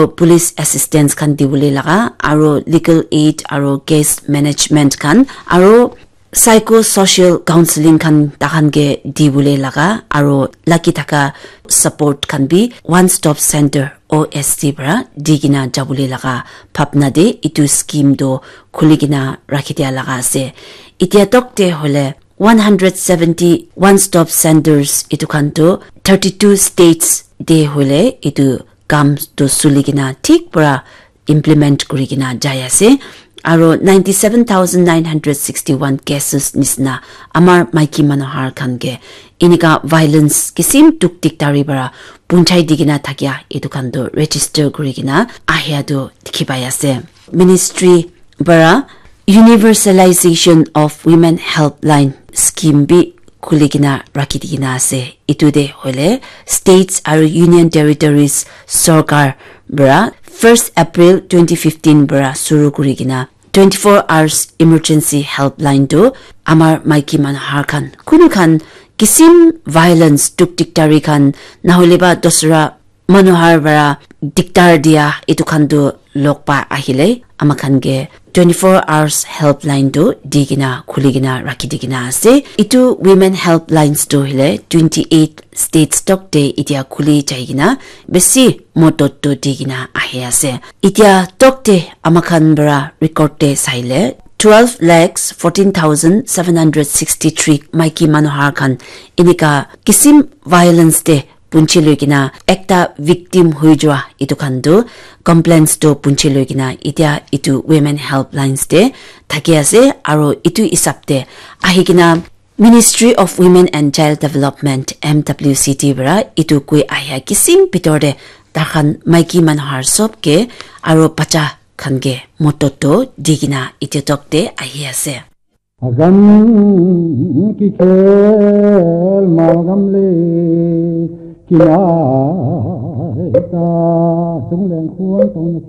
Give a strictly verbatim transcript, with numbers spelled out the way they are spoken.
police assistance khan dibole laga, aro legal aid aro case management khan, aro psychosocial counseling khan tahan ke dibole laga, aro lagi thaka support khan bi One Stop Center, O S C, para di kena jabole laga bhabna de etu scheme tu khuli kena rakhi dia laga ase. Itia tok te hoile one hundred seventy One Stop Centers etu khan tu thirty-two states te hoile etu kam tu suli kena thik para implement kuri kena jai ase. Aro ninety-seven thousand nine hundred sixty-one cases nisna amar maiki manu har khan ke enika violence kisim tuk tik tari para punchai di kena thakia etu khan tu register kuri kena ahia tu dikhi pai ase. Ministry para Universalization of Women Helpline Scheme bi khuli kena rakhi di kena ase. Etu de hoile states aro union territories sorkar para first April twenty fifteen para suru kuri kena twenty-four hours emergency helpline tu amar maiki manu har khan kunu khan kisim violence tuk tik tari khan nahole ba dosra manu har para diktar dia etu khan tu log pa ahile ama khan ke twenty-four hours helpline tu di kena khuli kena rakhi di kena ase. Etu women helplines tu hile twenty-eight states tok te itia khuli jai kena besi modot tu di kena ahi ase. Itia tok te ama khan para record te saile twelve lakhs fourteen thousand seven hundred sixty-three maiki manu har khan enika kisim violence te punchi loi kena ekta victim hui jua etu khan tu complaints tu punchi loi kena itia etu women helplines te thaki ase. Aro etu hisab te ahi kena Ministry of Women and Child Development, M W C D, para etu koi ahia kisim bitor te takhan maiki manu har sob ke aro bacha khan ke modot tu di kena etia tok te ahi ase. Agam ki khel malgam le kinai ta tung leng khuan tong